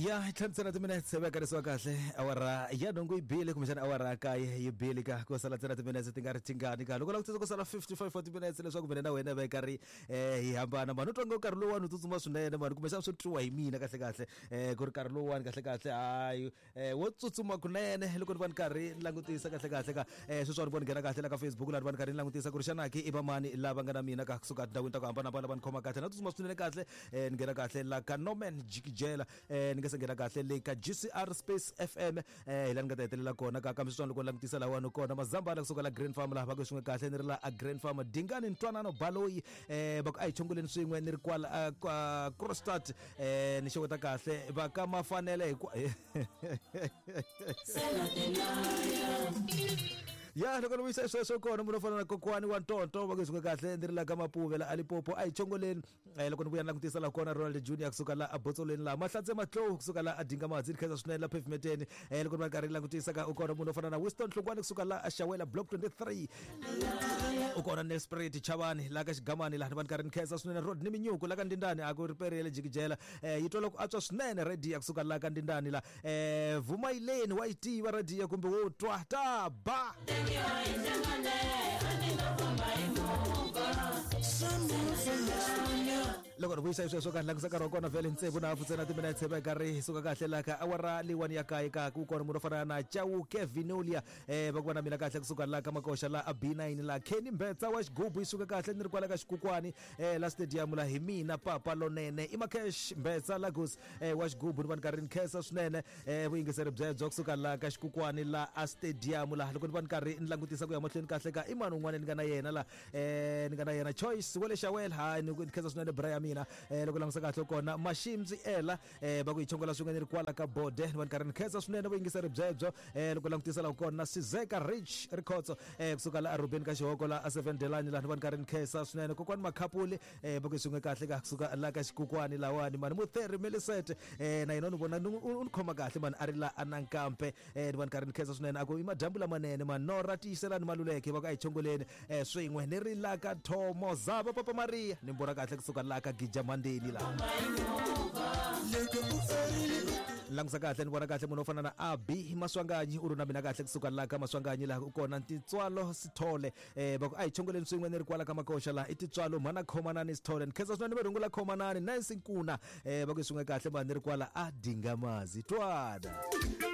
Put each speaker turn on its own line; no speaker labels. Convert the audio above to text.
Ya hi tlhanu timinetse va karisiwa kahle awara ya nhungu yi bile, kumbexana awara ya kaye yi bile, ka ku sala ntsena timinetse ti nga ri tingani ka loko langutisa ku sala 55 wa timinetse leswaku mina na wena va karhi hi hambana. Mani u twa ngo nkarhi lowuwani u tsutsuma swinene mani, kumbexana swi twiwa hi mina kahle kahle ku ri nkarhi lowuwani kahle kahle hayi wo tsutsuma kunene. Loko ni va ni karhi ni langutisa kahle kahle ka sweswiwani ni vona ni nghena kahle la ka Facebook laha ni va ni karhi ni langutisa ku ri xana ki i va mani lava nga na mina ka kusuka tindhawini ta ku hambanahambana va ni khoma kahle na tsutsuma swinene kahle. Ni nghena kahle la ka Norman Jikijela, ni nga se nghena kahle le ka GCR Space FM, hi la ni nga ta hetelela kona ka. Kambe sweswiwani loko ni langutisa lahawani kona Mazambana kusuka la Green Farm laha va ku swin'we kahle, ni ri la a Green Farm. Dingani Ntwanano Baloyi, va ku a hi chongoleni swin'we, ni ri kwala kwa Krostad. Ni xeweta kahle va ka Mafanele hi ya loko ni vuyisa sweswo kona munhu o fana na kokwani wa Ntonto va ku swin'we kahle, ni ri la ka Mapuve la Alipopo, a hi chongoleni. Loko ni vuya ni langutisa la kona Ronald Junior kusuka la Abotsolweni la Mahlatse Matlou kusuka la Adinga Madzi, ni khensa swinene la pavementeni. Loko ni va karhi ni langutisa ka u kona munhu o fana na Winston Hlungwani kusuka la Axawela Block 23, u kona Nelspruit Chavani la ka Xigamani laha ni va ni karhi ni khensa swinene. Rodney Minyuku la ka Ndindani a ku ri periyele jikijela, yi twala ku antswa swinene radio kusuka la ka Ndindani la. Vumayileni wa yi tiva radio kumbe wo twa ta ba. Loko ni vuyisa sweswo ka langutisa nkarhi wa kona vhele tsevu na hafu ntsena timinetse va karhi hi suka kahle la ka awara leyiwani ya kaye ka ku kona munhu o fana na Chauke Vinolia, va ku va na mina kahle kusuka la ka Makoxa la a B9 la. Kenny Mbetsa wa xigubu yi suka kahle, ni ri kwala ka Xikukwani, la stadium la, hi mina papa lonene i Makesh Mbetsa Lagos, wa xigubu ni va ni karhi ni khensa swinene vuyingiseri byebyo kusuka la ka Xikukwani la a stadium la. Loko ni va ni karhi ni langutisa ku ya mahlweni kahle ka i mani un'wana ni nga na yena la, ni nga na yena Choice wa le Xawela, hayi ni khensa swinene bra ya mina. Loko langutisa kahle kona Mashimzi ela, va ku hi chongola swin'we, ni ri kwala ka Bode, ni va ni karhi ni khensa swinene vuyingiseri byebyo. Loko langutisa la kona Sizeka Rich Rikhotso, kusuka la Arubeni ka Xihoko la a 7 Delani la, ni va ni karhi ni khensa swinene kokwani Makhapuli, va ku swin'we kahle ka kusuka la ka Xikukwani lawani mani Mutheri Melisete, na yena u ni vona u ni khoma kahle mani a ri la Anankampe, ni va ni karhi ni khensa swinene a ku i madyambu lamanene mani Nora Tiyiselani Maluleke va ku a hi chongoleni swin'we, ni ri la ka Thomo Zava Papa Maria, ni mbona kahle kusuka la ka Gija Mandeni la. Langusa kahle ni vona kahle munhu o fana na Abi Maswanganyi u ri na mina kahle kusuka la ka Maswanganyi laha u kona Titswalo Sithole, va ku a hi chongoleni swin'we, ni ri kwala ka Makoxa laha i Titswalo mhana Khomanani Sithole, ni khensa swinene va rhungula Khomanani Nancy Nkuna, va ku swin'we kahle mani, ni ri kwala a Dingamazi twana.